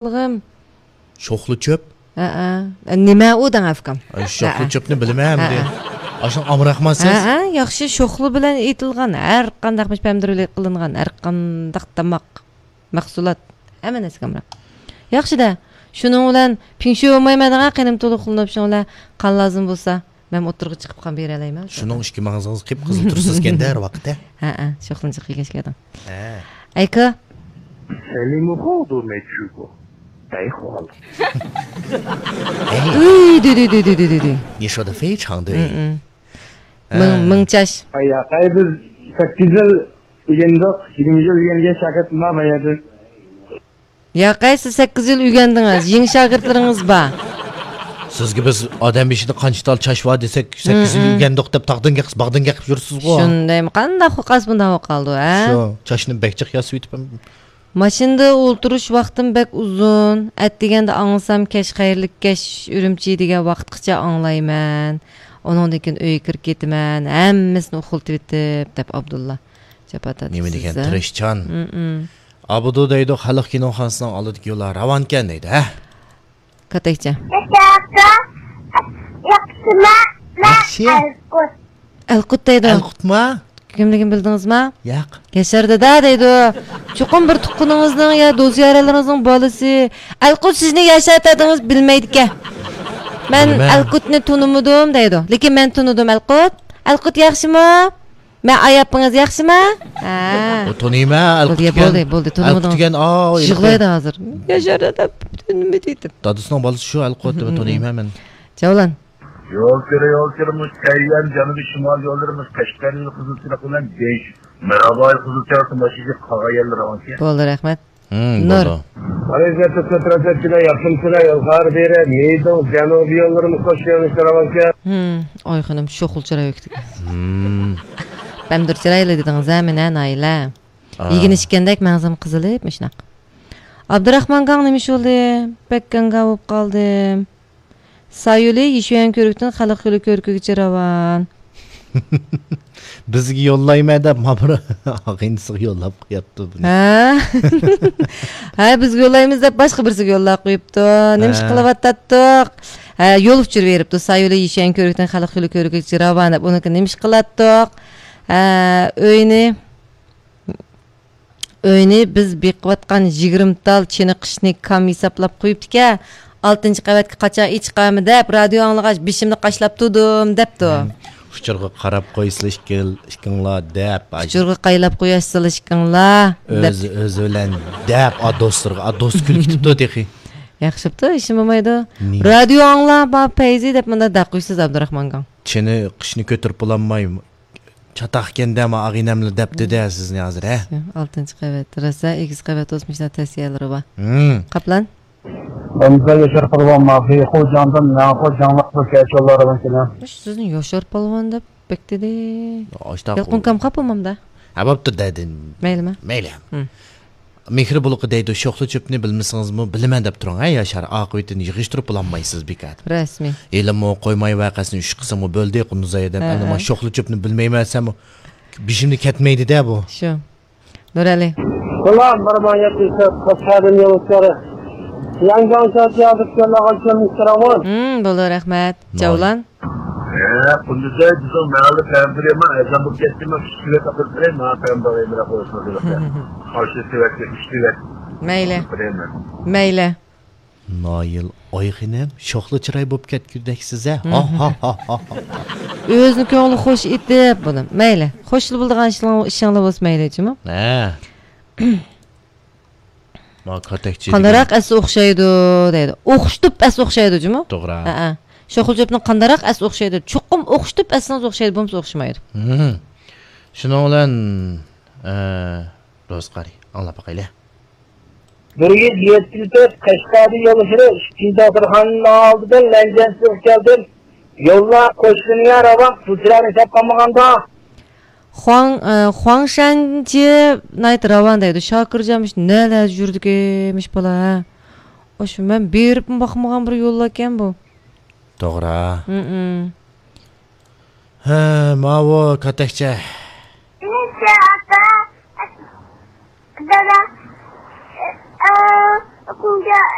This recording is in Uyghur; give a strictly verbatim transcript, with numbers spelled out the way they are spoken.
قىلغىن. شوخلا چۆپ؟ ھەئە. نېمە ئۇ دەڭ ئەفكام؟ ئاي، شوخلا ھەئە. چۆپنى بىلىمەن ئەمدى. ھەئە. ئاشۇنىڭ ئامراقماسىز؟ ھەئە، ياخشى شوخلا بىلەن ئېتىلغان ھەر قانداق مۇشۇ پەمدىر بىلەن قىلىنغان ھەر قانداق تاماق، مەھسۇلات، ھەممە نەرسىگە ئامراق. ياخشى-دە، شۇنىڭ بىلەن پىڭشۈ بولمايمەن دەڭە، قېنىم تولۇق قىلىنىپ، شۇنىڭ بىلەن قان لازىم بولسا، مەن ئوتتۇرىغا چىقىپ قان بېرەلەيمەن. شۇنىڭ ئىككى مېڭىزىڭىز قىپقىزىل تۇرسىزكەن-دە ھەر ۋاقىت، ھە؟ ھەئە، شوخلىنى جىق يېگەچكە ئادەم. ھە. ئەيكا. سەلىمۇ خۇدۇ مەچۇبۇ. دەيخۇل. ئەي. ئۈي، دۈ، دۈ، دۈ. 你说得非常对。 مىڭ، ھە. مىڭچاش. ئاي، ياقەي، بىز سەككىز يىل ئۆگەندۇق، يىگىرمە يىل ئۆگەنگەن شاگىرتىم بار بۇ يەردە. ياقەي، سىز سەككىز يىل ئۆگەندىڭىز، يېڭى شاگىرتلىرىڭىز بار. سىزگە بىز ئادەم بېشىدا قانچە تال چاچ بار دېسەك، سەككىز يىل ئۆگەندۇق دەپ تاغدىن گەپ، باغدىن گەپ يۈرسىزغۇ. شۇندايمۇ؟ قانداق قىلسا بۇنداق بولۇپ قالدى، ھە؟ شۇ، چاچنى بەك جىق ياسىۋېتىپ. ماشىنىدا ئولتۇرۇش ۋاقتىم بەك ئۇزۇن. ئەتىگەندە ئاڭلىسام، كەچ خەيرلىك كەچ ئۈرۈمچى دېگەن ۋاقىتقىچە ئاڭلايمەن. ئۇنىڭدىن كېيىن ئۆيگە كىرىپ كېتىمەن، ھەممىسىنى ئۇخلىتىۋېتىپ، دەپ ئابدۇللا جاپا تارتىپ. نېمە دېگەن تىرىشچان. ئابدۇ دەيدۇ، خەلق كىنوخانىسىنىڭ ئالدىدىكى يوللار راۋانكەن دەيدۇ، ھە؟ كاتەكچە. ياخشى. ئەلقۇت دەيدۇ. ئەلقۇتما؟ كىملىكىنى بىلدىڭىزما؟ ياق. ياشار دادا دەيدۇ. چوقۇم بىر تۇغقىنىڭىزنىڭ يا دوست-يارەنلىرىڭىزنىڭ بالىسى. ئەلقۇت سىزنى ياشار دادىڭىز بىلمەيدىكەن. مەن بىلىمەن. ئەلقۇتنى تونۇمىدىم دەيدۇ. لېكىن مەن تونۇدۇم ئەلقۇت. ئەلقۇت ياخشىمۇ؟ مەن ئاياپپىڭىز ياخشىما؟ ھە. ئۇ تونۇيمەن، ئەلقۇت بولدى، دېگەن. بولدى، بولدى، تونۇمىدىڭىز. ئەلقۇت دېگەن، ئاۋۇ، يىغلايدۇ ھازىر. ياشار دادا، تونۇمىدى دېدىم. دادىسىنىڭ بالىسى شۇ ئەلقۇت دەپ تونۇيمەن مەن. جاۋلان. يول كىرە، يول كىرە، مۇشۇ كەييەن جەنۇبىي شىمال يوللىرى مۇشۇ قەشقەرنىڭ قىزىل چىراغ بىلەن دېيىش. مىراباي قىزىل چىراغ ماشىنىغا قالغان يەرلىرى ئانچە. بولدى، رەھمەت. ھىم، نۇر. بولدى. ئەلەيھىسسالام، سىلەر ياخشىمۇسىلەر؟ يول خەۋەر بېرە، مېيدىڭ جەنۇبىي يوللىرىمىز قوشۇلۇشى راۋانكەن. ھىم، ئاي خېنىم، شوخلا چىراي ئۆكتىكەن. ھىم. بەمدۇر چىرايلىق دېدىڭىز ھە مېنى، نايلە. ئا. يېگىنى ئىچكەندەك مەڭزىم قىزىلىپ، مۇشۇنداق. ئابدۇراخمان گاڭ نېمە ئىش بولدى؟ بەك گاڭگا بولۇپ قالدىم. سايولى يىشۈەن كۆۋرۈكتىن خەلق يولى كۆۋرۈكىگىچە راۋان. بىزگە يوللايمەن دەپ، مانا بىر ئاغىنىسىغا يوللاپ قويۇپتۇ بۇنى. ھە؟ ھە، بىزگە يوللايمىز دەپ، باشقا بىرسىگە يوللاپ قويۇپتۇ. نېمە ئىش ھە. قىلىۋاتاتتۇق؟ ھە، يول ئۇچۇر بېرىپتۇ. سايولى يىشۈەن كۆۋرۈكتىن خەلق يولى كۆۋرۈكىگىچە راۋان دەپ، ئۇنىڭكى نېمە ئىش قىلاتتۇق؟ ھە، ئۆينى ئۆينى بىز بېقىۋاتقان يىگىرمە تال چېنىقىشنى كام ھېسابلاپ قويۇپتىكەن. ئالتىنچى قەۋەتكە قاچان ئېچىقارمۇ دەپ، رادىيو ئاڭلىغاچ، بېشىمنى قاشلاپ تۇردۇم، دەپتۇ. ئۇچۇرغا قاراپ قويسىلا ئىككىڭلار دەپ. ئۇچۇرغا قايلاپ قوياشسىلا ئىككىڭلار دەپ. ئۆزى، ئۆزى بىلەن دەپ، ئا دوستلىرىغا، ئا دوست كۈلۈپ كېتىپتۇ تېخى. ياخشى بوپتۇ، ھېچنېمە بولمايدۇ. رادىيو ئاڭلا، ما پەيزى دەپ مۇنداق دەق قويسىز، ئابدۇراخمانغا. چېنىقىشنى كۆتۈرۈپ بولالماي، چاتاقكەن دەما ئاغىنەملا دەپتۇ-دە سىزنى ھازىر، ھە؟ ئالتىنچى قەۋەت، راسا ئېگىز قەۋەت بولسا مۇشۇنداق تەسىيەلىرى بار. ھىم. قاپلان. ئەمدى ياشار قۇربان ماخىي، خۇجاندىن مەن خۇجاڭلىق بىر كەچ يوللار باركەن. مۇشۇ سىزنى ياشار پالۋان دەپ بەك دېدى. يالقۇن كام قاپمامدا؟ ھە، بوپتۇ دەدىم. مەيلىما؟ مەيلى. ھىم. مېھرى بۇلىقى دەيدۇ، شوخلا چۆپنى بىلمىسىڭىزمۇ بىلىمەن دەپ تۇرۇڭ ھە ياشار، ئاقىۋىتىنى يىغىشتۇرۇپ بولالمايسىز بىكار. رەسمىي. ھېلىمۇ قويماي ۋەقەسىنى ئۈچ قىسىمغا بۆلدى قۇندۇزئايا دەپ، ھە، ئەمدى ھە. مانا شوخلا چۆپنى بىلمەيمەن دېسەممۇ بېشىمدىن كەتمەيدۇ-دە بۇ. شۇ. نۇرئەلى. سالام، بىر مىڭ يەتتە يۈز قىرىق تۆت، ياڭجاڭ شاتيا دۇكانلارغا كەلمىشتىرىڭىز. ھىم، بولدى، رەھمەت. جاۋلان. ھە، قۇندۇزئاي، بىزنىڭ مەھەللە پەمپىرى، مەن ئەزان بولۇپ كەتتىمەن، ئۈچ سېۋەت ئاپىرىپ بېرەي، ماڭا پەمپىر ئېمىراق بولسۇن. قارشى سېۋەتكە ئۈچ سېۋەت. مەيلى. ئاپىرىمەن. مەيلى. نايىل، ئاي خېنىم، شوخلا چىراي بولۇپ كەتكۈدەكسىز ھە. ھا، ھا، ھا، ھا، ھا. ئۆزىنى كۆڭلى خوش ئېتىپ، بۇنى. مەيلى. خوشلا بولىدىغان ئىشىڭ-، ئىشىڭلار بولسا مەيلى، جۇمۇ. ھە. ما كاتەكچى قانداقراق دېگەن. ئەسلى ئوخشايدۇ دەيدۇ. ئوخشىتىپ ئەسلى ئوخشايدۇ جۇمۇ. توغرا. ھەئە. شوخلا چۆپنىڭ قانداقراق ئەسلى ئوخشايدۇ. چوقۇم ئوخشىتىپ ئەسلىڭىز ئوخشايدۇ، بولمىسا ئوخشىمايدۇ. مم. شۇنىڭ بىلەن، ئە، دوست قارى، ئاڭلاپ باقايلى. بىر يۈز يەتتە تۆت قەشقەردىن يول ئۇچۇرى، ئىككىنچى داختۇرخانىنىڭ ئالدىدىن لەنجەنسىگە كەلدىم. يوللار قوشلىنىگە راۋان، پۇل چىراينى ھېساب قىلمىغاندا. خۇاڭ، ئە، خۇاڭشەنچى ناھايىتى راۋان دەيدۇ. شاكىرجان مۇشۇ نەلەردە يۈرىدىكىنمىش بالا، ھە؟ ئاشۇ مەن بېرىپمۇ باقمىغان بىر يوللاركەن بۇ. توغرا. ھىم. ھە، ماۋۇ كاتەكچە. دادا، ئە، Aku nggak